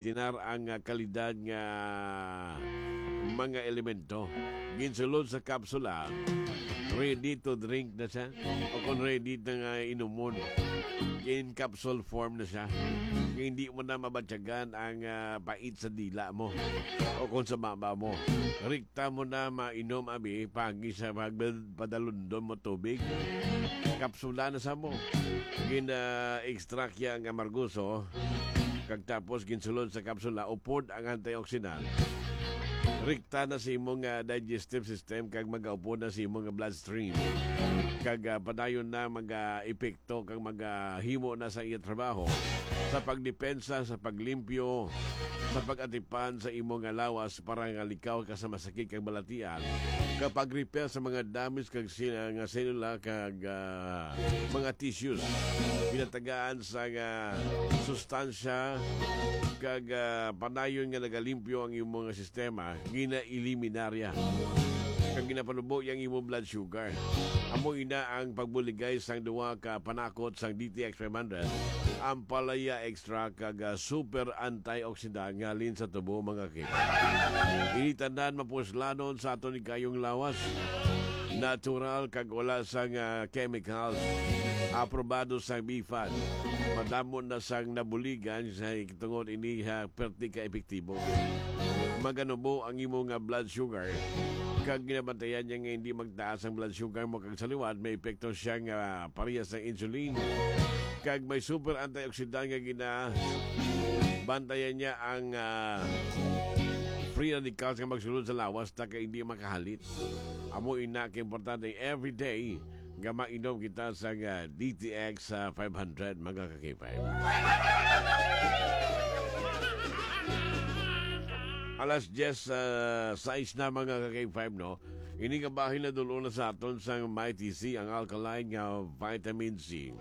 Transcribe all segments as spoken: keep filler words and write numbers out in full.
tinar ang, ah, kalidad nga mga elemento. Ginsulod sa kapsula, ready to drink na siya, o kung ready na nga inumon, in capsule form na siya. Hindi mo na mabatyagan ang, ah, pait sa dila mo o kung sa baba mo. Rikta mo na mainom, abi, pagi sa pagpadalundon mo tubig. Kapsula na sa mo. Gina-extract ya ang amargoso, kag tapos ginsulod sa kapsula, upod ang antioxidant. Rikta na sa imong, ah, digestive system kag magaupod na sa imong bloodstream. Kag, ah, padayon na mag-epekto kag magahimo na sa iya trabaho sa pagdepensa, sa paglimpyo, sa pag-atipan sa imong lawas para nga likaw ka sa masakit kag balatian, kapag repair sa mga damage kag sil-, nga selula kag, ah, mga tissues. Pinatagaan sa, ah, sustansya kag, ah, padayon nga nagalimpyo ang imong sistema, ginaeliminarya kag ginapanubo ang imong blood sugar. Amo ina ang pagbuligay sang duha ka panakot sang D T X five hundred, ang palaya extract kag, ah, super antioxidant nga halin sa tubo, mga kaibigan. Ini tanan mapuslanon sa aton higayong lawas. Natural kag wala sang, ah, chemicals. Aprobado sang BFAD. Madamo na sang nabuligan sa tungod ini ha, perti ka epektibo. Maganubo ang imo nga blood sugar. Kag ginabantayan niya nga hindi magtaas ang blood sugar mo kag sa liwat, may epekto siya nga parehas sa insulin. Kag may super antioxidant nga gina-, bantayan niya ang, ah, free radicals nga magsulod sa lawas ta kay hindi makahalit. Amo ina ka importante everyday nga mainom kita sa, ah, D T X, ah, five hundred, mga ka-K five. Alas diyes, ah, sais na, mga ka-K five, no? Ini nga bahin na dul-on na sa aton sang Mighty C, ang alkaline nga vitamin C.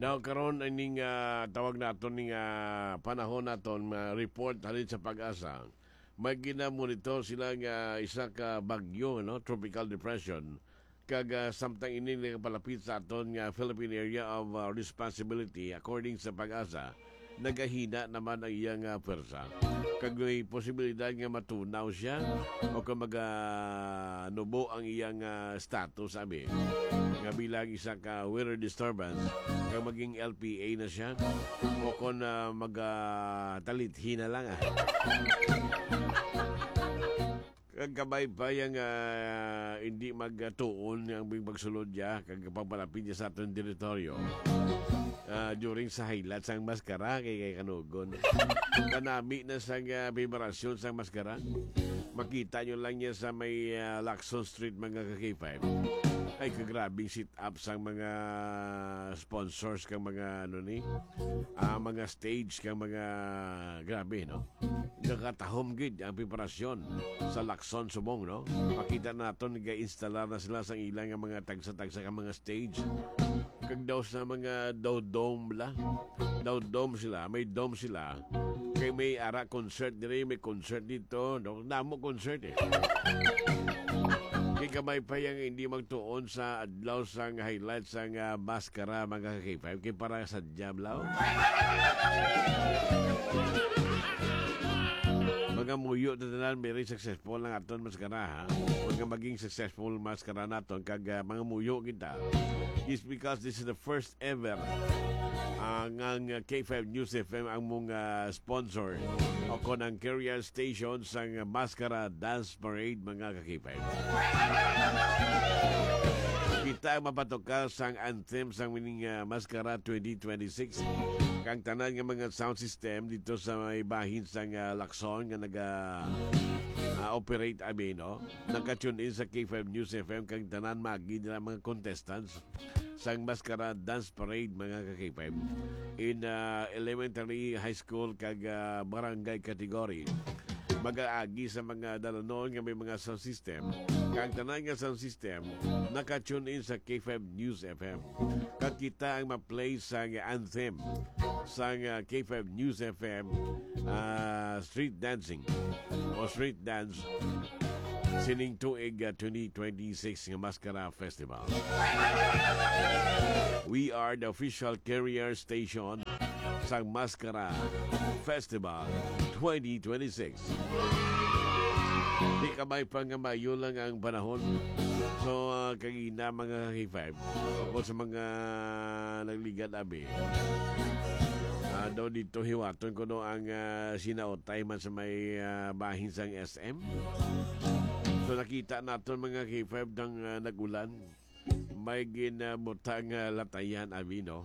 Now, karon, ining, ah, tawag naton ning, ah, panahon naton, ah, report halin sa PAGASA. May ginamonitor sila nga isa ka bagyo, no? Tropical depression. Kag, ah, samtang ini nagapalapit sa aton nga Philippine Area of, ah, Responsibility, according sa PAGASA, nagahina naman ang iyang, ah, pwersa. Kag may posibilidad nga matunaw siya o kung maganubo ang iyang, ah, status, abi, nga bilang isa ka weather disturbance, kag maging L P A na siya, o kung, ah, magatalithi na lang, ah. Kag kabay pa yang, ah, hindi magtuon ang pagsulod niya, kag pagpalapit niya sa aton teritoryo. Ah, during sa highlight sang maskara, kay, kay kanugon. Kanami na sang, ah, vibrasyon sang maskara. Makita nyo lang niya sa may, ah, Lacson Street, mga ka-K five. Ay, kagrabing sit-up sang mga sponsors kang mga, ano ni, ah, mga stage kang mga, grabe, no? Nakatahom gid ang preparasyon sa Lacson subong, no? Makita naton, nag-install na sila sa ilang nga mga tagsa-tagsa ka mga stage. Kag daw sa mga daw dome la. Daw dome sila, may dome sila. Kay may ara concert diri, may concert dito, no? Namo concert, eh. Kay kamay pa yang hindi magtuon sa adlaw sang highlight sang, ah, maskara, mga ka-K five. Kay para sa diablo. Mga muyo na tanan, very successful ang aton maskara, ha? Mga maging successful maskara naton, kag, ah, mga muyo kita. It's because this is the first ever, ah, nga ang K five News F M ang mong, ah, sponsor o kon ang career station sang Maskara Dance Parade, mga ka-K five. Kita ang mapatukar sang anthem sang mining, ah, Maskara twenty twenty-six. Kang tanan nga mga sound system dito sa may bahin sang, ah, Lacson nga naga, ah, operate, abi, no? Naka-tune in sa K five News F M kang tanan magi nila mga contestants sang Maskara Dance Parade, mga ka-K five, in, ah, elementary, high school, kag, ah, barangay category. Mag-aagi sa mga dalanon nga may mga sound system. Kag tanan nga sound system, naka-tune in sa K five News F M. Kag kita ang ma-play sa anthem sang, ah, K five News F M, ah, street dancing o street dance. sining tuig, ah, twenty twenty-six nga Maskara Festival. We are the official carrier station sang Maskara Festival twenty twenty-six. Di kamay pa nga maayo lang ang panahon. So, ah, kagina, mga K five, o sa mga nagligad, abi, ah, daw dito hiwaton ko no ang, ah, sinautay man sa may, ah, bahin sang S M. So, nakita naton, mga K five, nang, ah, nag-ulan, may ginabutang, ah, latayan, abi, no?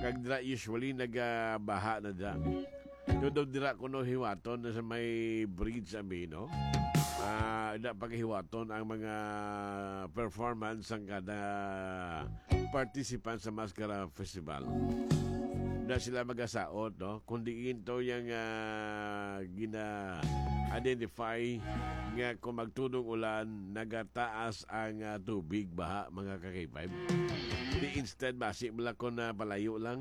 Kag dira usually nagabaha na dira. Todo dira kuno hiwaton na sa may bridge, abi, no? Ah, da paghiwaton ang mga performance sang kada participant sa Maskara Festival. Na sila magasaot, no? Kung diin to yang, ah, gina-identify nga kung magtudong ulan, nagataas ang, ah, tubig, baha, mga ka-K five. Di instead, basi mo lang kung, ah, palayo lang.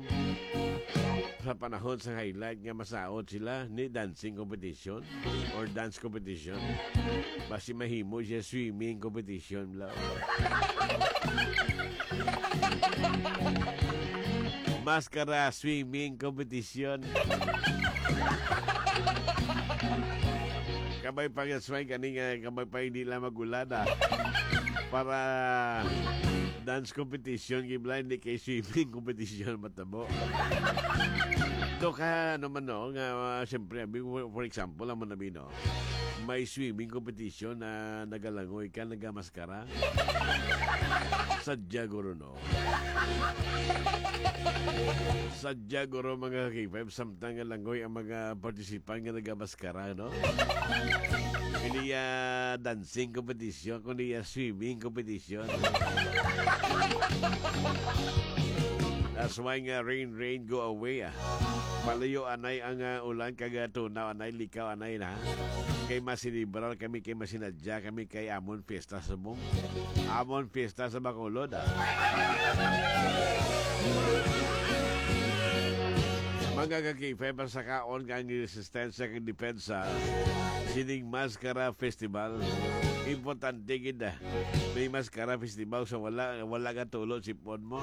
Sa panahon sa highlight nga masaot sila, ni dancing competition or dance competition. Basi mahimo siya swimming competition lang. Maskara swimming competition. Kamay pa nga sway, kani nga kamay pa hindi lang mag-ulan, ah. Para dance competition, giblay, hindi kay swimming competition matabo. Do ka, ano man, no, nga, ah, siyempre, abi, for, for example, amo na, bi, no, may swimming competition na nagalangoy ka, nagamaskara. Sadya guro, no? Sadya guro, mga K five, samtang nga langoy ang mga participant nga nagamaskara, no? Hindi, ah, dancing competition, kundi, ah, swimming competition. That's why nga rain, rain, go away, ah. Palayo anay ang, ah, ulan, kag, ah, tunaw anay, likaw anay na. Kay masilibrar kami, kay masinadya kami, kay amon fiesta subong. Amon fiesta sa Bacolod, ah. Mga ka-K five, ang sakaon nga ang resistensya kag depensa sining Maskara Festival. Importante gid, ah. May Maskara Festival sa wala, wala ka tulog si phone mo.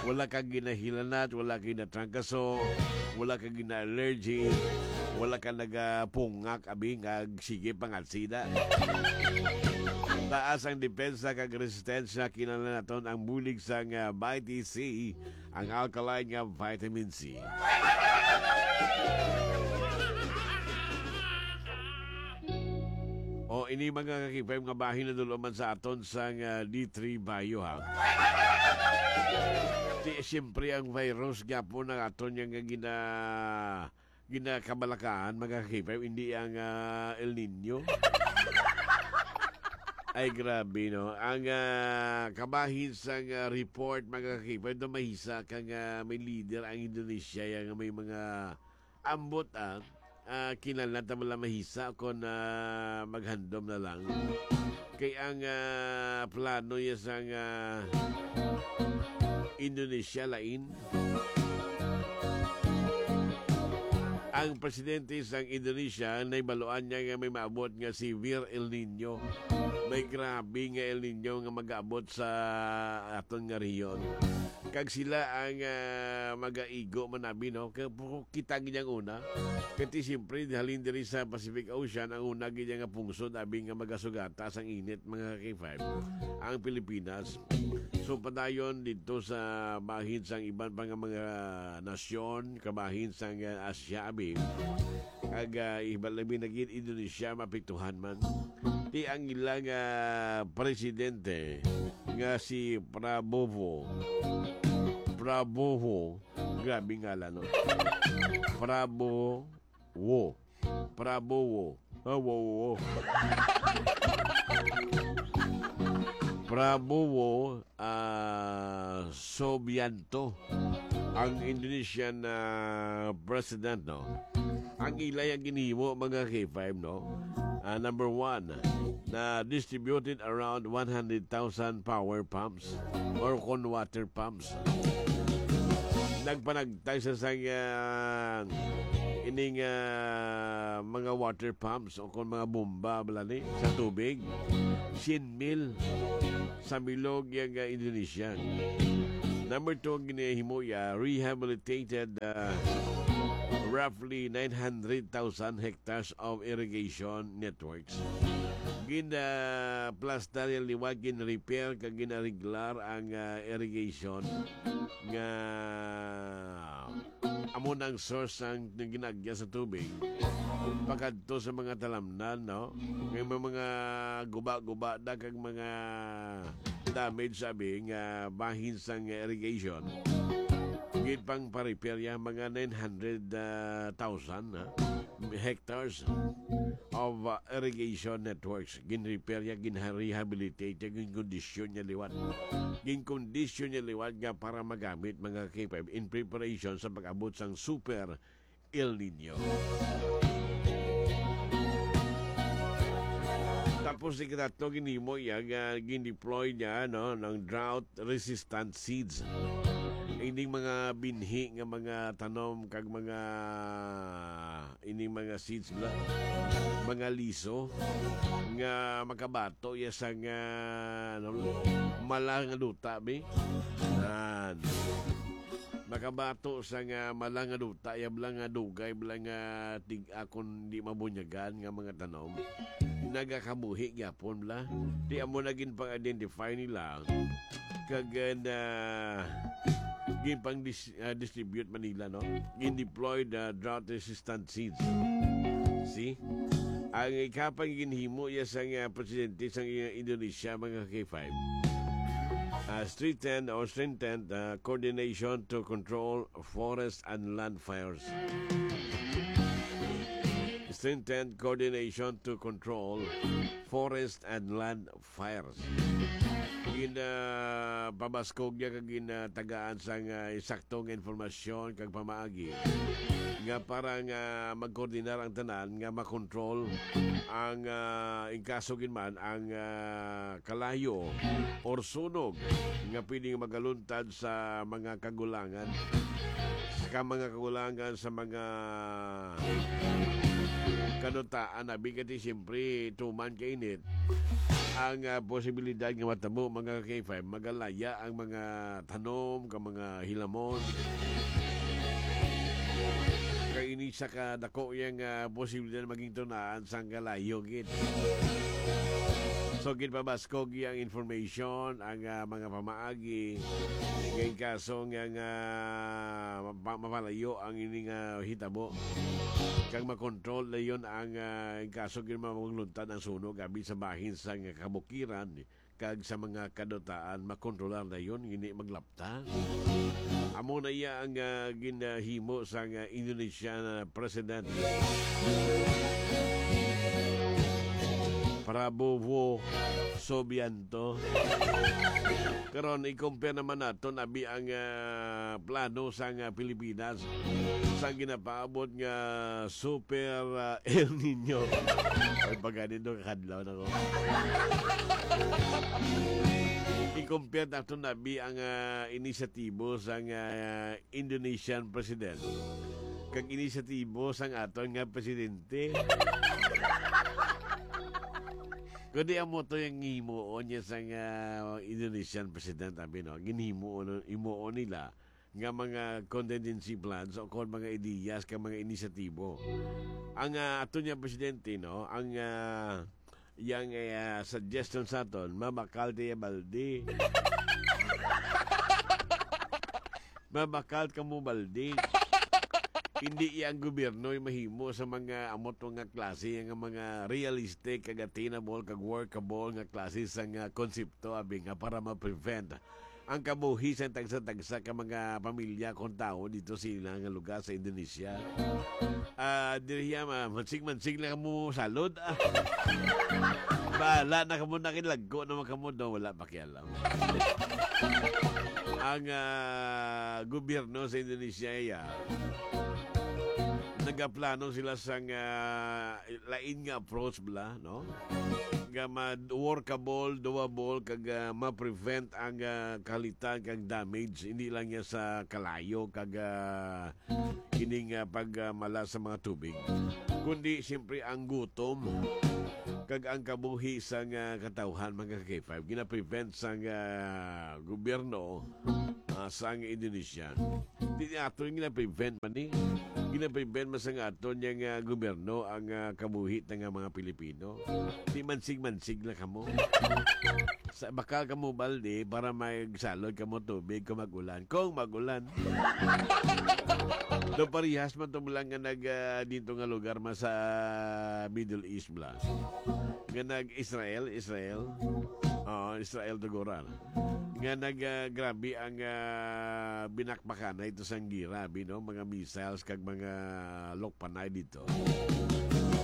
Wala ka ginahilanat, wala ka ginatrangkaso, wala ka gina-allergy, wala ka nagapungak, abi, nga sige pangatsida. Taas ang depensa kag resistensya, kinahanglan naton ang bulig sang, ah, Vitamin C, ang alkaline nga vitamin C. O, ini, mga ka-K five, nga bahin na dulo man sa aton sang, ah, D three Bio, ha. Di, siyempre, ang virus gyapon ang aton nga gina-, ginakabalakaan, mga ka-K five, hindi ang, ah, El Nino. Ay, grabe, no? Ang, ah, kabahin sang, ah, report, mga ka-K five, do mahisa kang, ah, may leader ang Indonesia, yang may mga ambot, ah, ah, kinahanglan ta man lang mahisa kon, ah, maghandom na lang. Kay ang, ah, plano niya sang, ah, Indonesia lain. Ang presidente sang Indonesia, nahibaluan niya nga may maabot nga severe El Nino. May grabe nga El Nino nga mag-abot sa aton nga rehiyon. Kag sila ang, ah, magaigo man, abi, no? Kay pu-, kita gid ang una. Kay ti, siyempre, halin diri sa Pacific Ocean, ang una gid nga pungsod, abi, nga magasugata sang init, mga K five, ang Pilipinas. So, padayon didto sa bahin sang iban pa nga mga nasyon, kabahin sang, ah, Asia, abi. Kag, ah, iba labi na gid Indonesia, maapektuhan man. Ti ang ilang, ah, presidente nga si Prabowo. Prabowo. Grabe ngalan, no? Prabowo. Prabowo. Ah, wo, wo, wo. Prabowo, ah, Subianto, ang Indonesian, ah, president, no? Ang ila yang ginhimo, mga K five, no? Ah, number one, na distributed around one hundred thousand power pumps or kon water pumps. Nagpanagtay sa sang, ah, ining, ah, mga water pumps o kung mga bomba bala ni sa tubig. Sien mil sa bilog yang, ah, Indonesia. Number two, ang ginahimo ya, rehabilitated, ah, roughly nine hundred thousand hectares of irrigation networks. Gin, ah, plastar yang liwat, gin repair kag gin ariglar ang, ah, irrigation nga amo nang source sang ginagya sa tubig pakadto sa mga talamnan, no? Nga may mga guba-guba da kag mga damage, sabi, nga bahin sang irrigation. Gid pang pa-repair ya mga nine hundred thousand, ha? Hectares of, uh, irrigation networks. Gin-repair ya, gin-rehabilitate ya, gin-kondisyon niya liwat. Gin-kondisyon niya liwat nga para magamit, mga K five, in preparation sa pag-abot sang Super El Nino. Tapos, ikatlo, ginhimo iya nga gin-deploy niya, no, ng drought resistant seeds. Ining mga binhi nga mga tanom kag mga, ining mga seeds bala, mga liso nga makabato ya sa nga, ano, mala nga duta, bi. Nan. Makabato sa nga mala nga duta, ya bala nga dugay, bala nga tig-a kon di mabunyagan nga mga tanom. Nagakabuhi gyapon bala. Di amo na gin pang-identify nila. Kag, uh, na gin pang dis-, ah, distribute man nila, no? Gin deploy the drought resistant seeds. See? Ang ikapang ginhimo ya sang, ah, presidente sang, ah, Indonesia, mga K five. Ah, strengthen or strengthen, ah, coordination to control forest and land fires. Strengthen coordination to control forest and land fires. Gin, ah, pabaskog niya kag gin, ah, tagaan sang, ah, insakto nga informasyon kag pamaagi nga para nga magkoordinar ang tanan nga makontrol ang, ah, in kaso gid man ang, ah, kalayo or sunog nga pwedeng magaluntad sa mga kagulangan, sa mga kagulangan sa mga kanutaan, abi, kay siyempre tuman kainit ang, ah, posibilidad nga matabo, mga K five, magalaya ang mga tanom, ka mga hilamon. Kay ini sa kadako yang, ah, posibilidad maging tunaan sang kalayo gid. So, ginpabaskog yang information ang, ah, mga pamaagi. Kay kaso nga, nga ma-, mapalayo ang ini nga hitabo. Kag makontrol na yon ang, ah, kaso gid magluntad ang sunog abi sa bahin sa nga kabukiran kag sa mga kadutaan, makontrolar na yon, hindi maglapta. Amo na iya ang, ah, ginahimo sang, ah, Indonesian, ah, President Prabowo Subianto. Karon, i-compare naman naton abi ang, ah, plano sang, ah, Pilipinas sa ginapaabot nga super, ah, El Nino. Ay, pagani do, kakadlaw na ko. I-compare naton abi ang, ah, inisyatibo sang, ah, Indonesian president kag inisyatibo sang aton nga presidente. Kundi amo to yung himuon niya sang, ah, Indonesian president, abi, no? Ginhimuon, himuon nila nga mga contingency plans o kon mga ideyas ka mga inisyatibo. Ang, ah, ato niya presidente, no, ang, ah, yang, ah, suggestion sa aton, mabakal tayo baldi. Mabakal ka mo baldi. Hindi iya ang gobyerno yung mahimo sa mga amot nga klase, nga mga realistic, kag attainable, kag workable nga klase sa nga konsepto, abi nga para ma-prevent ang kabuhi sa tagsa-tagsa ka mga pamilya kung tawo dito sa ilang nga lugar sa Indonesia. Ah, diri hiya, ma-, mansig-mansig lang kamo salod, ah. Bahala na kamo, nakilagko naman kamo, no? Wala pakialam. Ang, ah, gobyerno sa Indonesia, iya, nagaplano sila sang, ah, lain nga approach bala, no? Nga ma-, workable, doable, kag, ah, ma-prevent ang, ah, kalitan kag damage, hindi lang niya sa kalayo kag, ah, ining, ah, pag, ah, mala sa mga tubig, kundi siyempre ang gutom kag ang kabuhi sang, ah, katawhan, mga K five, gina-prevent sang, ah, gobyerno, ah, sang Indonesia. Di ato yung gina-prevent man ni. Gina-prevent man sang aton yang, ah, gobyerno ang, ah, kabuhi ta nga mga Pilipino. Di mansig-mansig lang kamo. Sa, baka kamo balde para magsalod kamo tubig kung mag-ulan. Kung mag-ulan. Do parehas man to lang nga nag, ah, dito nga lugar man sa Middle East bala. Nga nag Israel, Israel. Oo, Israel Dugora. Nga nag, ah, grabe ang, ah, binakbakan na ito sang gira, bi, no? Mga missiles kag mga lokpanay dito.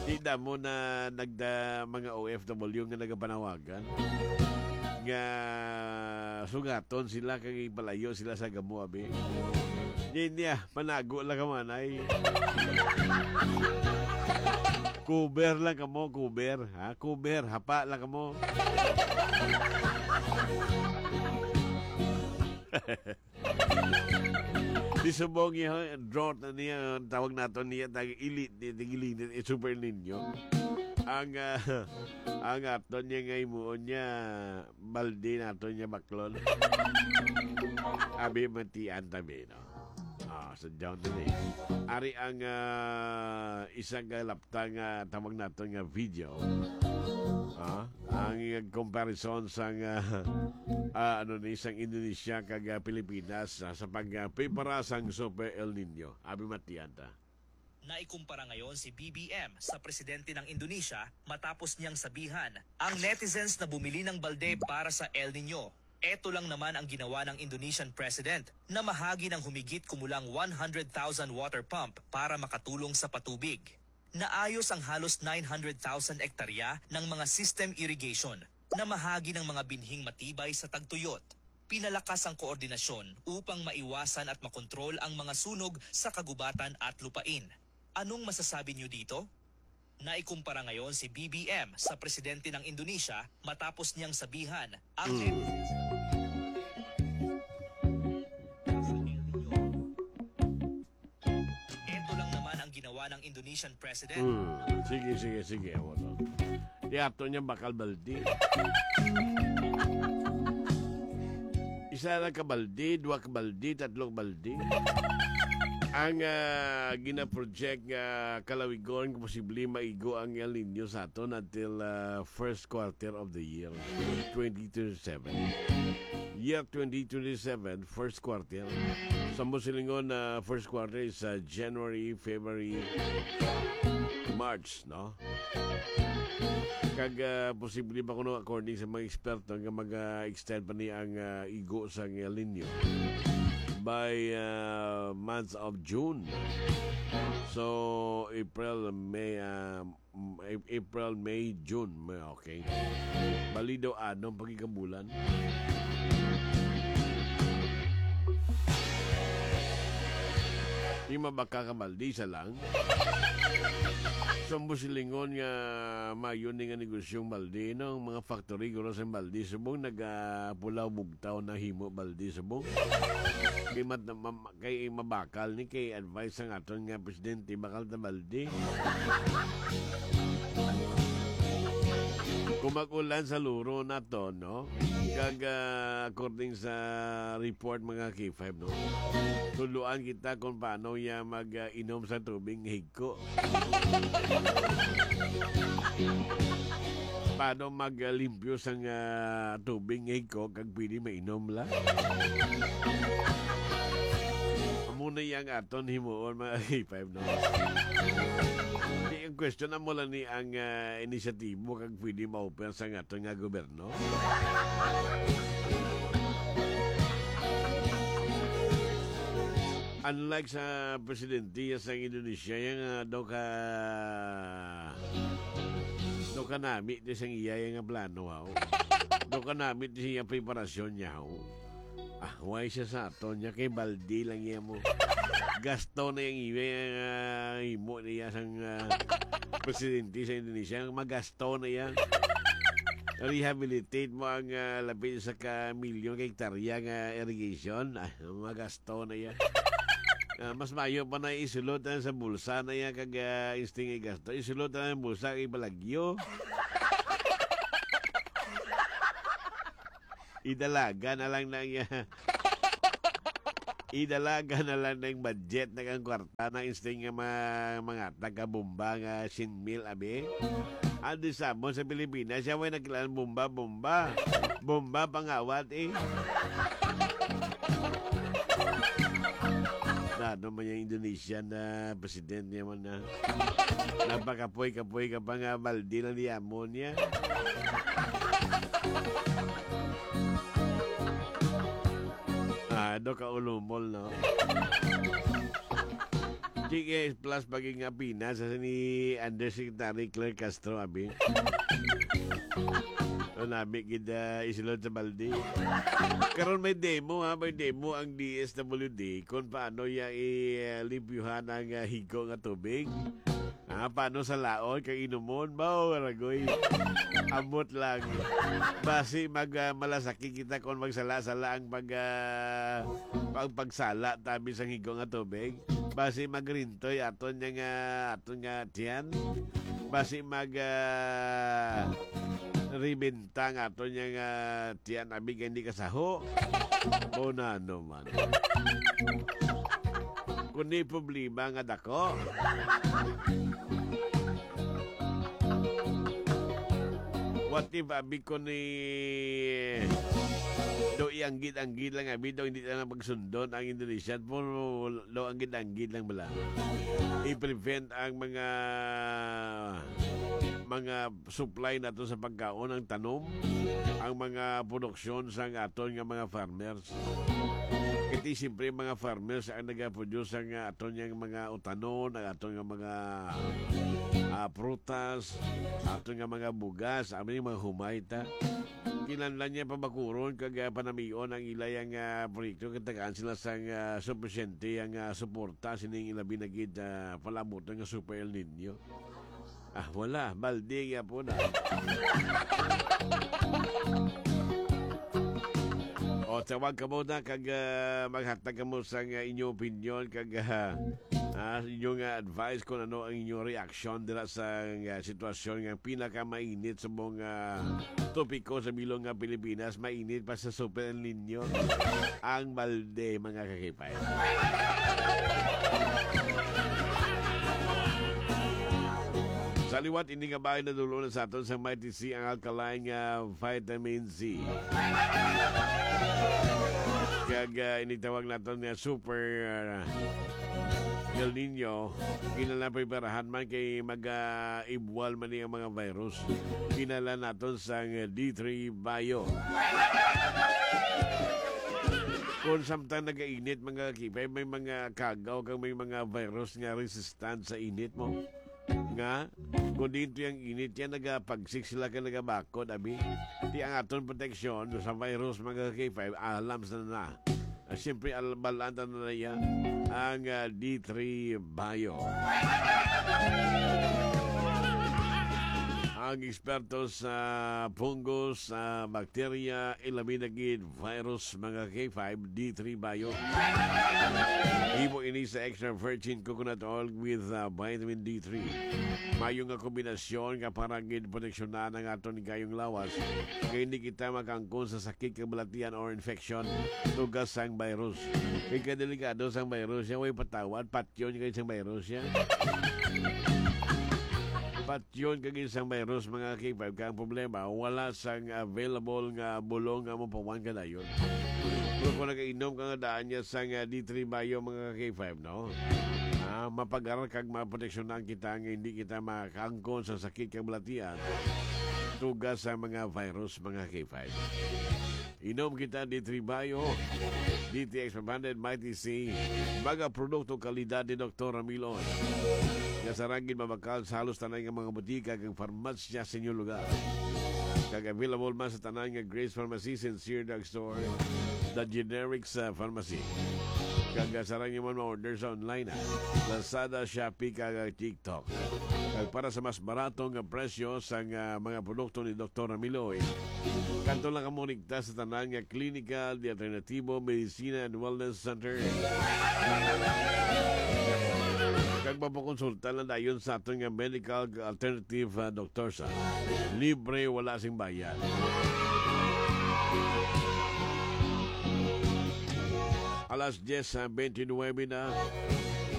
Di damo na nagda mga O F W nga nagapanawagan nga sugaton sila kag ipalayo sila sa gamo, abi. Ninya, panago lang ka man, ay. Cover lang kamo, cover, ha? Cover, hapa lang kamo. Di subong niya, drought na niya, tawag naton niya, tag-, ili-, di-, di-, ilinit, eh, Super Niño. Ang, ah, ang aton niya nga himuon niya, balde naton niya baklon. Abi matian tabi, no? Ah, sa down na ni. Ari ang, ah, isang kalapta nga tawag naton nga video. Ah, ang comparison sang, ah, ah, ano ni, sang Indonesia kag, ah, Pilipinas, ah, sa pag, ah, prepara sang Super El Nino. Abi matian ta. Naikumpara ngayon si B B M sa presidente ng Indonesia matapos niyang sabihan ang netizens na bumili ng balde para sa El Nino. Eto lang naman ang ginawa ng Indonesian president na mahagi ng humigit kumulang one hundred thousand water pump para makatulong sa patubig. Naayos ang halos nine hundred thousand ektarya ng mga system irrigation na mahagi ng mga binhing matibay sa tagtuyot. Pinalakas ang koordinasyon upang maiwasan at makontrol ang mga sunog sa kagubatan at lupain. Anong masasabi niyo dito? Naikumpara ngayon si B B M sa presidente ng Indonesia matapos niyang sabihan ang Mm. Ito lang naman ang ginawa ng Indonesian president. Hmm. Sige, sige, sige. Amo to. Yato niya bakal baldi. Isa lang ka baldi, dua ka baldi, tatlo ka baldi. Ang, ah, gina-project nga kalawigon nga posible maigo ang El Nino sa aton until, ah, first quarter of the year twenty twenty-seven. Year twenty twenty-seven, first quarter. Sa mo silingon na first quarter is, ah, January, February, March, no? Kag, ah, posible pa kuno, according sa mga eksperto, nga mag-extend pa ni ang, ah, igo sa El Nino by, ah, months of June. So, April, May, ah, mm, A-, April, May, June. May, okay. Bali daw, anom pagikabulan. Di mabaka ka baldi, isa lang. Sa mo silingon nga mayo ni nga negosyong baldi, no? Ang mga factory, guro sa baldi, subong nagapulaw bugtaw na himo baldi, subong. Kay mat-, ma-, ma-, kay mabakal ni, kay advice ang aton nga presidente, bakal ta baldi. Kung mag-ulan sa luro na to, no? Kag, ah, according sa report, mga K five, no? Tuluan kita kung paano ya mag, ah, inom sa tubig nga higko. Paano mag, ah, limpyo sang, ah, tubig nga higko kag pwede mainom la? Amo na yang aton himuon, mga K five, no? Di, ang question, amo lang ni ang, ah, inisyatibo kag pwede ma-offer sa aton nga gobyerno. Unlike sa presidente sa Indonesia, yang, ah, daw ka, daw ka nami di sang iya nga plano, haw. Daw ka nami di sa iya preparasyon niya, haw. Why siya sa aton niya? Kay baldi lang iya mo. Gasto na yung iwe, ah, himo niya sang, ah, presidente sa Indonesia. Magasto na iya. Rehabilitate mo ang, ah, lapit sa ka milyon ka hektarya nga irrigation. Ah, magasto na iya. Ah, mas mayo pa na isulot na sa bulsa na iya kag, ah, insting igasto. Isulot na ang bulsa kay balagyo. Idalaga na lang na iya. Idalaga na lang ng budget na kang kwarta na insting nga mga, mga taga-bomba nga shin mil, abi. Ang di sabon sa Pilipinas, siya may nagkilalang bomba, bomba. Bomba, pangawat, eh. Na, ano man yung Indonesian na president niya man na napakapoy-kapoy ka pa nga baldi lang di amon niya. Ah, do ka ulumol, no? G K S plus paging nga Pinas sa ni Undersecretary Claire Castro, abi. Ano, abi, gid, ah, isulod sa baldi. Karon may demo, ha? May demo ang D S W D kung paano iya i-, ah, limpyuhan ang, ah, higo nga tubig. Ah, paano sa laon kay inumon? Mao, ragoy. Ambot lang. Basi mag, ah, malasakit kita kung magsala-sala ang pag, ah, pag, pagsala tabi sang higo nga tubig. Basi magrintoy aton nga, nga, aton nga tiyan. Basi mag, ah, ribintang aton nga, nga tiyan, abi, kay hindi kasaho. Mao na naman. Kung may problema nga dako. What if, abi, ko ni do ianggid-anggid lang, abi, do hindi na pagsundon ang Indonesian, pero do anggid-anggid lang bala. I-prevent ang mga, mga supply nato sa pagkaon, ang tanom, ang mga produksyon sa aton nga mga farmers. Kati siyempre mga farmers ang nagaproduce ang, ah, aton yang mga utanon, ang aton nga mga, ah, prutas, aton nga mga bugas, ang mga humay ta. Kinahanglan niya pabakuron kag, ah, panamion ang ilay ang, ah, proyekto kay tagaan sila sang, ah, supisyente ang, ah, suporta sining ilabi na gid, ah, palabuton nga Super El Nino. Ah, wala. Balde gyapon na. O, tawag kamo na kag, ah, maghatag kamo sang, ah, inyong opinyon kag, ah, ah, inyong, ah, advice kung ano ang inyong reaksyon dira sa, ah, sitwasyon nga pinakamainit sa mga topiko sa bilog nga Pilipinas, mainit pa sa Super El Nino ang balde, mga kakipay. Sa liwat, ini nga bahin nadul-on na sa aton sang Mighty C ang alkaline nga vitamin C. Kag, ah, initawag naton nga super, ah, El Nino, kinahanglan preparahan man kay mag, ah, ibwal man ni ang mga virus. Kinahanglan naton sang D three Bio. Kung samtang nagainit, mga kakipay, may mga kagaw kag may mga virus nga resistant sa init mo. Nga, kung dito yung init yan, nagapagsik sila ka nagabakod, abi. Di ang aton proteksyon sa virus, mga kakipay, alam sa na. Ah, siyempre, al-, balaan ta na niya ang, ah, D three Bio. Ang eksperto sa fungus, sa bakterya, ilabi na gid virus, mga K five, D three Bio. Himo ini sa extra virgin coconut oil with, ah, vitamin D three. Mayo nga kombinasyon nga para gid proteksyonan ang aton gayong lawas. Kay hindi kita makaangkon sa sakit kag balatian or infection, tugas sang virus. Kay kadelikado sang virus, siya way patawad, patyon kay sang virus siya. Patyon kag isang virus, mga K five, ka ang problema, wala sang available nga bulong nga mapawan ka dayon. Pero kung nagainom ka nga daan niya sang, ah, D three Bio, mga K five, no? Ah, mapagaral kag maproteksyonan kita nga hindi kita makaangkon sa sakit kag balatian. Tugas sa mga virus, mga K five. Inom kita D three Bio, D T X five hundred, Mighty C, mga produkto kalidad ni Doktor Ramilon. Nga sarang gid mabakal sa halos tanan nga mga butika kag farmasya sa inyong lugar. Kag available man sa tanan nga Grace Pharmacy, Sincere Drugstore, The Generics, ah, Pharmacy. Kag, ah, sarang nyo man ma-order sa online, ah. Lazada, Shopee, kag, ah, TikTok. Kag para sa mas barato nga presyo sa nga mga produkto ni Doktor Ramiloy, kanto lang kamo rekta sa tanan nga Klinika de Alternativo Medicina and Wellness Center. Kag mapakonsulta lang dayon sa aton nga medical alternative, ah, doktor sa libre, wala sing bayad. Alas diyes, ah, twenty-nine na.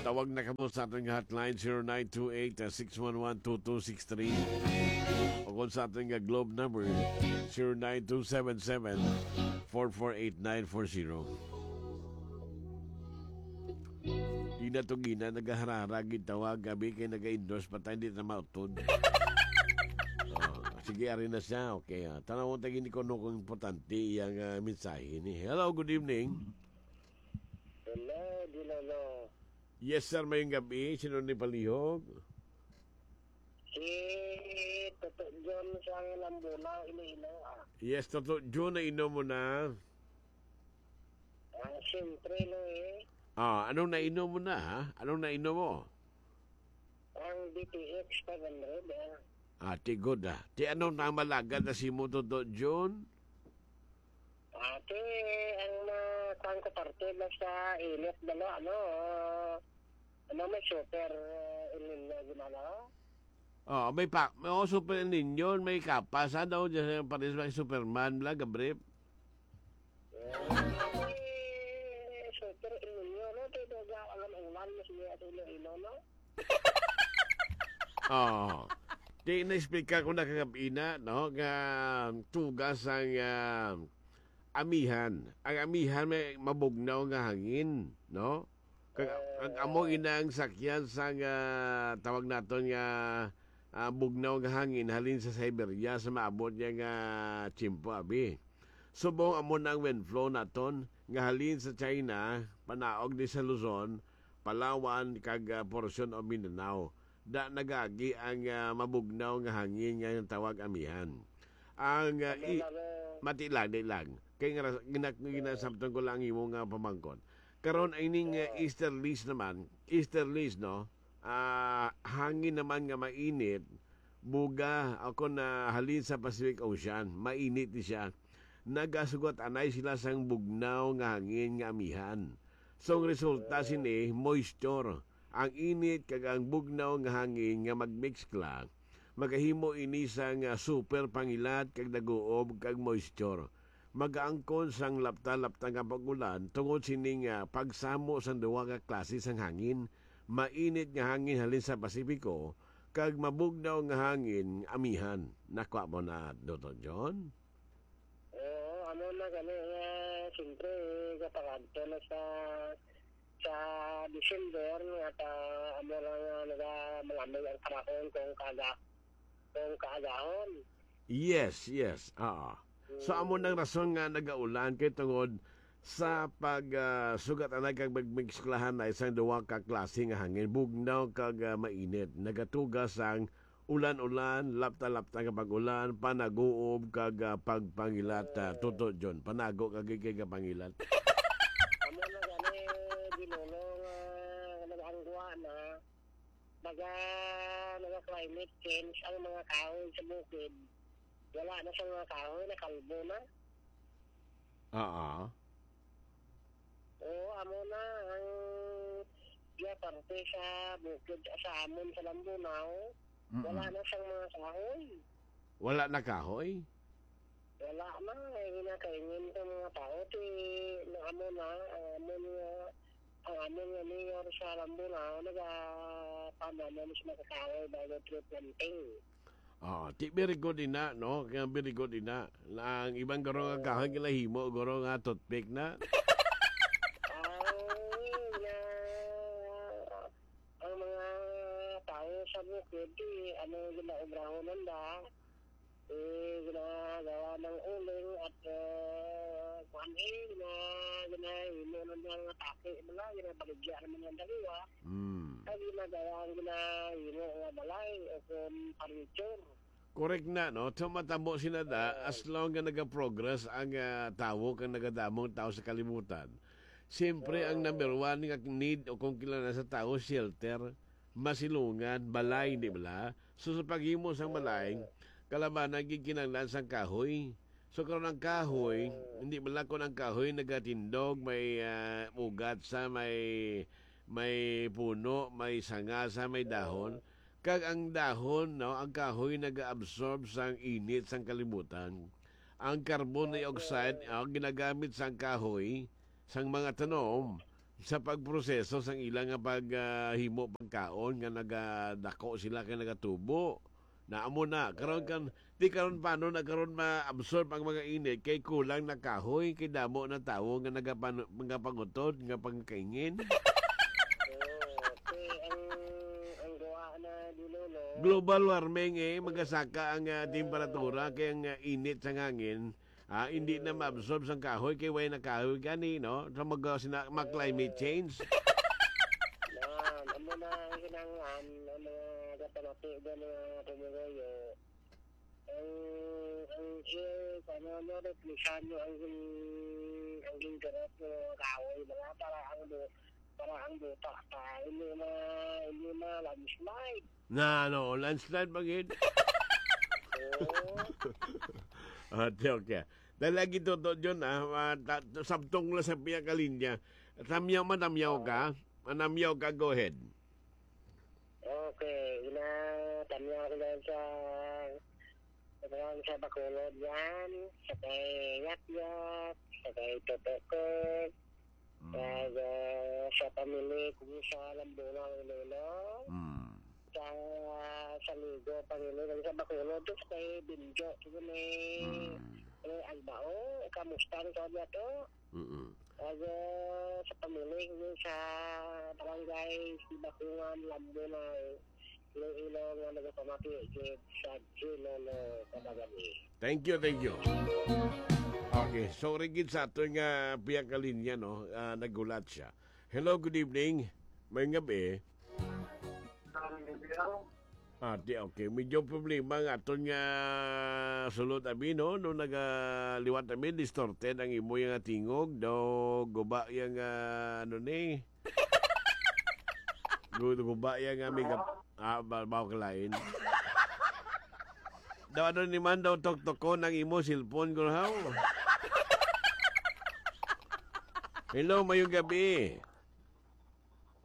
Tawag na kamo sa aton nga hotline, zero nine two eight, six one one, two two six three. O kung sa aton nga Globe number, zero nine two seven seven, four four eight nine four zero. Di na to gina, nagaharara, gitawag, gabi kay naga-endorse pa tayo, di na mautod. Oh, sige, ari na siya. Okay, ah. Tanaw mo tayo ni kuno kung importante iyang, ah, mensahe ni. Hello, good evening. Hello, Dilolo. Yes, sir. Mayong gabi. Sino ni palihog? Si Toto John sa Lambunao, Iloilo, ah. Yes, Toto John, nainom mo na? Ah, siyempre, no, eh. Ah, anong nainom mo na, ha? Anong nainom mo? Ang D T X five hundred, ah. Ah, ti good, ah. Ti ano na malagad na si mo, Toto John? Ate, ang ma-, kuwan ko parte, basta init, dalo, ano, ano, may super, eh, El Niño, gimana? Oh, may pa, may, oh, super El Niño, may kapas, ano, dyan sa pares may Superman, bla, gabrip. Eh, super El Niño, no? Pero ga-, ang ulan, mas niya sa Iloilo, no? Oh. Di na-explica ko na kagab-i na, no, nga tugas ang, ah, amihan. Ang amihan may mabugnaw nga hangin, no? Kag, ang amo ina ang sakyan sang, ah, tawag naton nga, ah, bugnaw nga hangin halin sa Siberia sa maabot niya nga tiyempo, abi. Subong amo na ang wind flow naton nga halin sa China, panaog ni sa Luzon, Palawan, kag, ah, porsyon o Mindanao. Da nagagi ang, ah, mabugnaw nga hangin nga tawag amihan. Ang, ah, i-, mati lang, di lang. Kay nga ras-, gina-, ginasabtan ko lang imo nga pamangkot. Karon, ay ning, ah, easterlies naman, easterlies, no? Ah, hangin naman nga mainit, buga, o kon, ah, halin sa Pacific Ocean, mainit ni siya. Nagasugat anay sila sang bugnaw nga hangin nga amihan. So, ang resulta sini, moisture. Ang init kag ang bugnaw nga hangin nga magmikskla, magahimo ini sang, ah, super pangilat kag daguob kag moisture. Magaangkon sang lapta-lapta nga pag-ulan tungod sini nga pagsamo sang duha ka klase sang hangin, mainit nga hangin halin sa Pasipiko kag mabugnaw nga hangin amihan. Nakuha mo na, Doktor John? Oo, amo na gani nga, siyempre, kapag adto na sa, sa December, nga ta, amo na nga naga-, malamig ang panahon kung kaaga-, kung kaagahon. Yes, yes. Oo. So, amo nang rason nga nagaulan kay tungod sa pag, ah, sugat anay kag magmiksklahan na isang duha ka klase nga hangin, bugnaw kag, ah, mainit. Nagatugas ang ulan-ulan, lapta-lapta nga pag-ulan, panaguob kag, ah, pagpangilat, ah, Toto John. Panago kag kay kapangilat. Amo na gani, Ginolo, nga nag-anggwa na, naga, naga climate change ang mga kahoy sa bukid. Wala na sa mga kahoy, nakalbo na. Oo. Oo, amo na ang iya parte sa bukid sa amon sa Lambunao. Mm-mm. Wala na sang mga kahoy. Wala na kahoy? Wala na. Ay, ginakaingin sa mga tao. Ti, na amo na, ang amon nga, ang amon nga mayor sa Lambunao, nagapananom sa mga kahoy bago tree planting. Ah, ti, very good ina, no? Kaya very good ina. Ang ibang guro nga kahoy, ginahimo, guro nga toothpick na. Ang, nga, ang mga tao sa bukid, eh, ano, ginaobrahon nanda, eh, ginagawa ng uling at, eh, kuwan, eh, gina-, ginahimo nanda nga taki, mga, ginabaligya naman ng daliwa. Mm. Kag ginagawa ang ginahimo nga balay o kung furniture. Correct na, no? So, matabo sila na, as long nga nagaprogress ang, ah, tawo, kag nagadamo ang tawo sa kalibutan. Siyempre, ang number one nga need o kung kinahanglan sa tawo, shelter, masilungan, balay, di bala? So, sa paghimo sang balay, kalabanan gid kinahanglan sang kahoy. So, karon ang kahoy, hindi bala, kung ang kahoy nagatindog, may, ah, ugat sa, may, may puno, may sanga sa, may dahon. Kag ang dahon, no, ang kahoy nag-absorb sang init sang kalibutan. Ang carbon dioxide, ah, ginagamit sang kahoy, sang mga tanom, sa pagproseso sang ila nga pag, ah, himo pagkaon nga nagadako sila kay nagatubo. Na amo na, karon kan, di karon paano na karon ma-absorb ang mga init kay kulang na kahoy, kay damo na tawo nga nagapan-, nagapangutod, nga pangkaingin. Oo, kay ang, ang gawa na, Lolo, no? Global warming, eh, magasaka ang, ah, temperatura kay ang, ah, init sa hangin, ah, hindi na maabsorb sang kahoy kay way na kahoy gani, no? Sa mag-, sina-, mag-climate change. Yan, amo na ang kinahanglan, ang mga kapanati, ang mga pumuloyo. Ang, ang, eh, ano, ano, replisan nyo ang, ang, ang gingarap ng mga kahoy, mga para ang bu-, para ang buta pa, hindi na, hindi na landslide. Na, ano, landslide ba gid? Oo. Okay, okay. Dahil lagi to, to, John, ah, ah, ta-, sabtong lang sa piya ka linya. Tamyaw, matamyaw ka. Manamyaw ka, go ahead. Okay, ina, tamyaw ko lang sa, sa, sa Bacolod yan, sa kay Yat Yat, sa kay Toto Kurt, Mm. kag, ah, sa pamili ko sa Lambunang Iloilo, Mm. sa, sa Ligo pamili ko sa Bacolod, sa kay Binjo, sa kay, Mm. eh, Albao, kamusta ang sa to? Mm-mm. Kag, ah, sa pamili ko sa barangay Sibakungan, Lambunang Iloilo nga nagapamati gid sa Chilolo Kadagami. Thank you, thank you. Okay, sorry gid sa aton nga piya ka linya, no? Ah, naghulat siya. Hello, good evening. May gabi. Ah, di, okay. Medyo problema nga aton nga sulod, abi, no? No, nagaliwat, abi, distorted ang imo nga tingog. Do, guba yang, ah, ano ni? Gu-, guba yang, ah, mega-, ah, ba-, bawa ka lain. Daw ano ni man daw tuktukon ang imo cellphone, guro, haw? Hello, mayong gabi.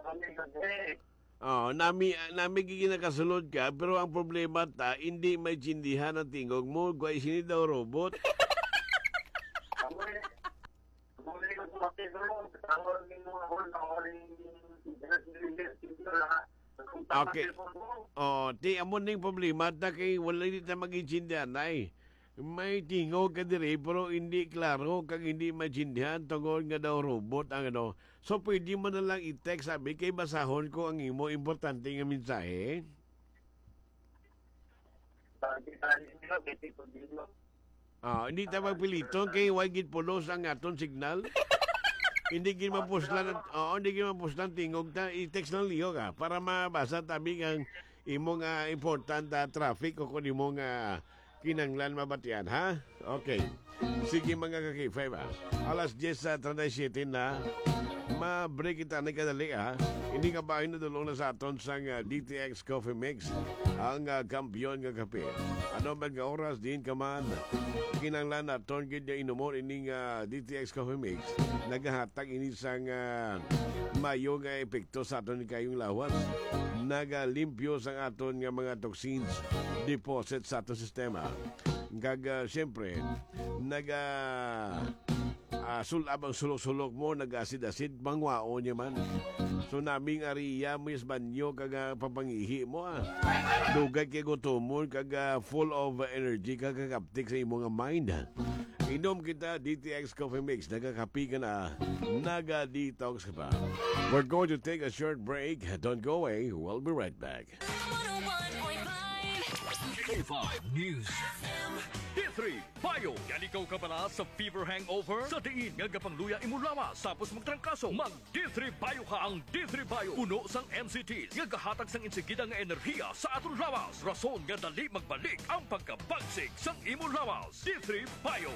Ano yung gabi? Oh, nami, nami gigi nakasulod ka, pero ang problema ta, hindi maintindihan ang tingog mo, guay sini daw robot. Ako eh, ako eh, ako eh, ako eh, ako eh, ako eh, Okay. Oh, ti, amo ning problema ta kay wala ni ta mag-intindihan, ay. May tingog ka diri, pero hindi klaro kag hindi maintindihan tungod nga daw robot ang ano. So, pwede mo na lang i-text, sabi, kay basahon ko ang imo importante nga mensahe. Ah, hindi ta magpiliton kay way gid pulos ang aton signal. Hindi gid mapuslan ang, oo, hindi gid mapuslan tingog ta. I-text lang liyo ka para mabasa tabi ang imo nga important, ah, traffic o kung imo nga kinanglan mabatian, ha? Okay. Sige, mga ka-K five, ah. Alas diyes sa treinta y siete na. Ma-break kita ni kadali, ah. Hindi nga ba nadulong na sa aton sang, ah, D T X Coffee Mix, ang, ah, kampiyon nga kape. Ano man nga oras, diin ka man, kinanglan naton gid nga inumon ining, ah, D T X Coffee Mix. Nagahatag ini sang, ah, mayo nga epekto sa aton kayong lawas. Nagalimpyo sang aton nga mga toxins, deposit sa aton sistema. Kag, ah, siyempre, naga, ah, sulab ang sulok-sulok mo, nag-asid-asid, mangwaon niya man. So, naming ariya mo is banyo kag, ah, papangihi mo, ah. Dugay kay gutomon kag, ah, full of energy kag kakaptik sa imo nga mind. Inom kita, D T X Coffee Mix. Nagakapi ka na, naga-detox ka pa. We're going to take a short break. Don't go away. We'll be right back. One oh one point five. K five News. D three Bio. Yan ikaw kabala sa fever hangover? Sa diin nga gapangluya imo lawas tapos magtrangkaso, mag D three Bio ka. Ang D three Bio puno sang M C Ts nga gahatag sang insigida nga enerhiya sa aton lawas, rason nga dali magbalik ang pagkabagsik sang imo lawas. D three Bio.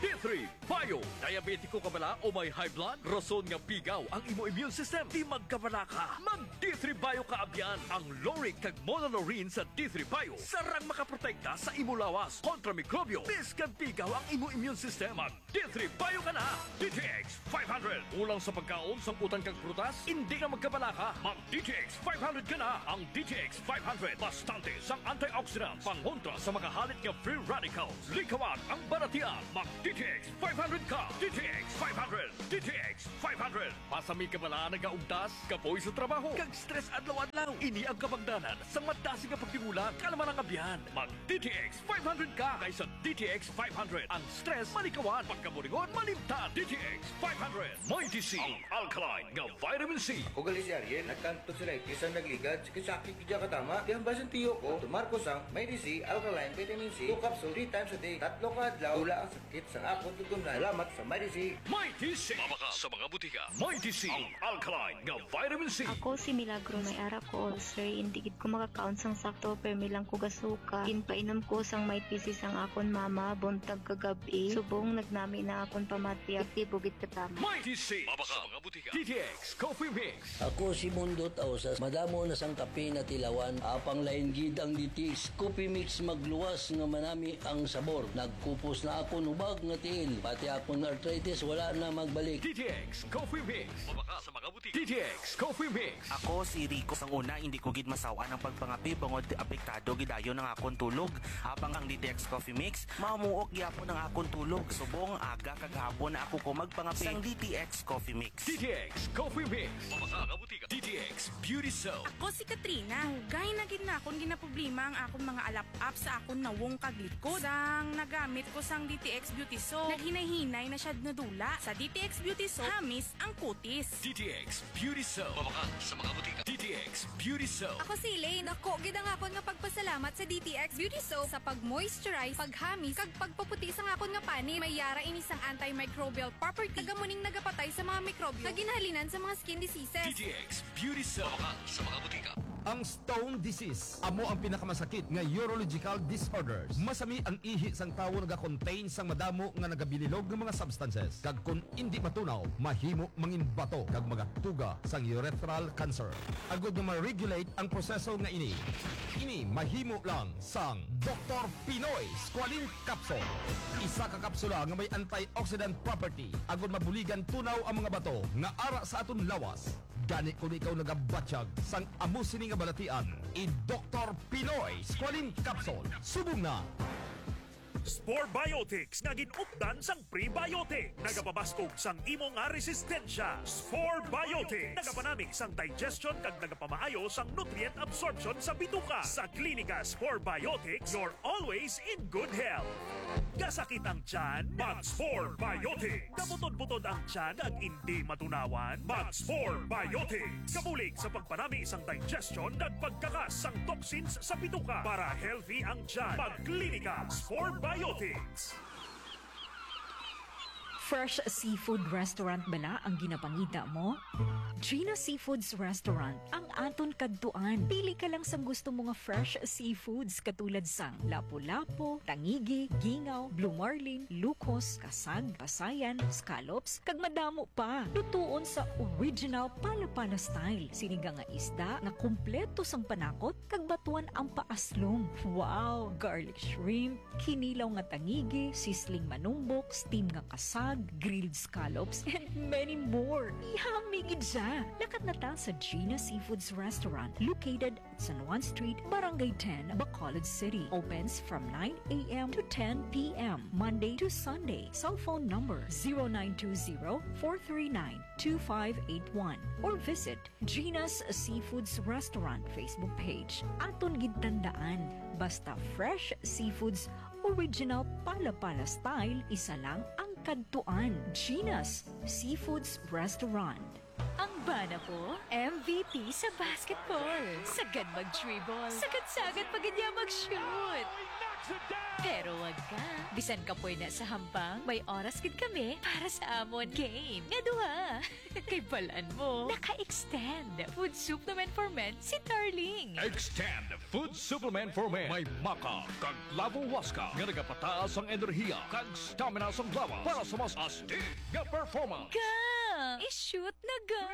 D three Bio. Diabetiko ka bala o may high blood? Rason nga pigaw ang imo immune system. Di magkabala ka. Mag D three Bio ka abyan. Ang lauric kag monolaurin sa D three Bio sarang makaprotekta sa imo lawas kontra mikrobyo. Bisan pigaw ang imo immune system, mag D three Bio ka na. D T X five hundred. Kulang sa pagkaon, sangkutan kag prutas? Hindi na magkabala ka. Mag D T X five hundred ka na. Ang D T X five hundred, bastante sang antioxidants, pangontra sa mga halit nga free radicals. Likawan ang balatian. Mag D T X five hundred ka. D T X five hundred. D T X five hundred. Masami ka bala nagaugtas, kapoy sa trabaho, kag stress adlaw-adlaw? Ini ang kabangdanan sang madasig nga pagtimula, kalma lang abyan. Mag D T X five hundred ka, kay sa D T X five hundred ang stress malikawan, pagkaburingon malimtan. D T X five hundred. Mighty C, ang alkaline nga vitamin C. Ako gali si Ariel, nagkang tonsillitis ang nagligad, sakit-sakit gid katama. Kaya ang basin tiyo ko, tumar ko sang Mighty C alkaline vitamin C, two capsule, three times a day, tatlo ka adlaw, wala ang sakit sang akon tutunan. Salamat sa Mighty C. Mighty C. Mabakal sa mga butika. Mighty C, ang alkaline nga vitamin C. Ako si Milagro, may ara ko ulcer, hindi gid ko makakaon sang sakto, permi lang ko gasuka. Ginpainom ko sang Mighty C sang akon mama, buntag kag gab-i. Subong nagnami na akon pamati, epektibo gid katama. Mighty C, mabakal sa mga butika. D T X Coffee Mix. Ako si Mundo Tausas. Madamo na sang kape na tilawan. Apang lain gid ang D T X Coffee Mix, magluwas nga manami ang sabor. Nagkupos na akon hubag nga tiil. Pati akon arthritis wala na magbalik. D T X Coffee Mix. Mabakal sa mga butika. D T X Coffee Mix. Ako si Rico. Sang una, hindi ko gid masaw-an ang pagpangape bangod apektado gid dayon ang akon tulog. Apang ang D T X Coffee Mix, mamuok gyapon ang akon tulog. Subong aga kag hapon na ako ko magpangape. Sang D T X Coffee Mix. D T X Coffee Mix. Mabakal sa mga butika. D T X Beauty Soap. Ako si Katrina. Dugay na gid na akon ginaproblema ang akon mga alap-ap sa akon nawong kag likod. Sang nagamit ko sang D T X Beauty Soap, naghinay-hinay na siya nadula. Sa D T X Beauty Soap, hamis ang kutis. D T X Beauty Soap. Mabakal sa mga butika. D T X Beauty Soap. Ako si Elaine. Dako gid ang akon nga pagpasalamat sa D T X Beauty Soap sa pag-moisturize, paghamis, kag pagpaputi sang akon nga panit. May yara ini sang antimicrobial property, kag amo ning nagapatay sa mga mikrobyo nga ginhalinan sa mga skin diseases. D T X Beauty Soap. Mabakal sa mga butika. Ang stone disease amo ang pinakamasakit nga urological disorders. Masami ang ihi sang tawo nagakontain sang madamo nga nagabililog nga mga substances, kag kon indi matunaw, mahimo mangin bato kag magatuga sang urethral cancer. Agod nga ma-regulate ang proseso nga ini, ini mahimo lang sang Doktor Pinoy Squalene Capsule. Isa ka kapsula nga may antioxidant property, agod mabuligan tunaw ang mga bato nga ara sa aton lawas. Gani, kung ikaw nagabatyag sang amo sini nga balatian, i-Doktor Pinoy Squalene Capsule. Subong na! Spore Biotics nga gin-updan sang prebiotic, nagapabaskog sang imo nga resistensya. Spore Biotics nagapanami sang digestion kag nagapamaayo sang nutrient absorption sa bituka. Sa klinika, Spore Biotics, you're always in good health. Kasakit ang tiyan? Mag Spore Biotics. Kabutod-butod ang tiyan kag indi matunawan? Mag Spore Biotics. Kabulig sa pagpanami sang digestion kag pagkakas sang toxins sa bituka para healthy ang tiyan. Magklinika Spore Biotics. Fresh Seafood Restaurant bala ang ginapangita mo? Gina Seafoods Restaurant ang aton kadtuan. Pili ka lang sang gusto mo nga fresh seafoods katulad sang lapu-lapu, tangigi, gingaw, blue marlin, lukos, kasag, pasayan, scallops, kag madamo pa. Lutuon sa original Pala-Pala style. Sinigang nga isda nga kompleto sang panakot kag batuan ang paaslong. Wow! Garlic shrimp, kinilaw nga tangigi, sisling manumbok, steam nga kasag, grilled scallops, and many more. Yummy gid siya! Lakat na ta sa Gina Seafoods Restaurant, located at San Juan Street, Barangay ten, Bacolod City. Opens from nine a m to ten p m, Monday to Sunday. Cell phone number zero nine two zero, four three nine, two five eight one or visit Gina's Seafoods Restaurant Facebook page. Aton gid tandaan, basta fresh seafoods, original Pala-Pala style, isa lang ang kadtuan. Gina's Seafoods Restaurant. Ang bana ko, M V P sa basketball. Sagad mag-dribble. Sagad-sagad pa gid niya mag-shoot. Pero wag ka. Bisan kapoy na sa hampang, may oras gid kami para sa amon game nga duha. Kay balan mo, naka-extend Food Supplement for Men si Darling. Extend Food Supplement for Men. May maca kag clavo huasca nga nagapataas ang enerhiya kag stamina sang lawas para sa mas astig nga performance. Ga! I-shoot na ga!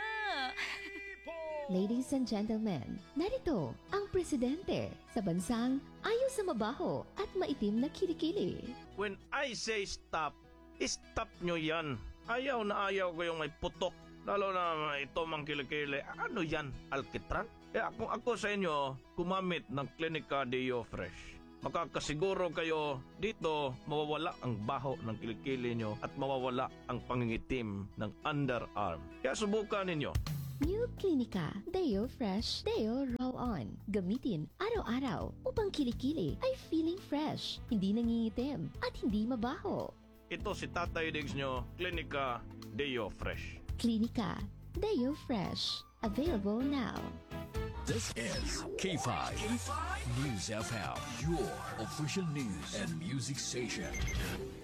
Ladies and gentlemen, narito ang presidente sa bansang ayaw sa mabaho at maitim na kilikili. When I say stop, stop nyo yan. Ayaw na ayaw ko yung may putok. Lalo na ito mang kilikili. Ano yan? Alkitran? Kaya kung ako sa inyo, gumamit ng Clinica Deo Fresh. Makakasiguro kayo dito mawawala ang baho ng kilikili nyo at mawawala ang pangingitim ng underarm. Kaya subukan ninyo. New Clinica Deo Fresh Deo Roll On. Gamitin araw-araw upang kilikili ay feeling fresh, hindi nangingitim, at hindi mabaho. Ito si Tatay Diggs nyo, Clinica Deo Fresh. Clinica Deo Fresh. Available now. This is K five News F M, your official news and music station.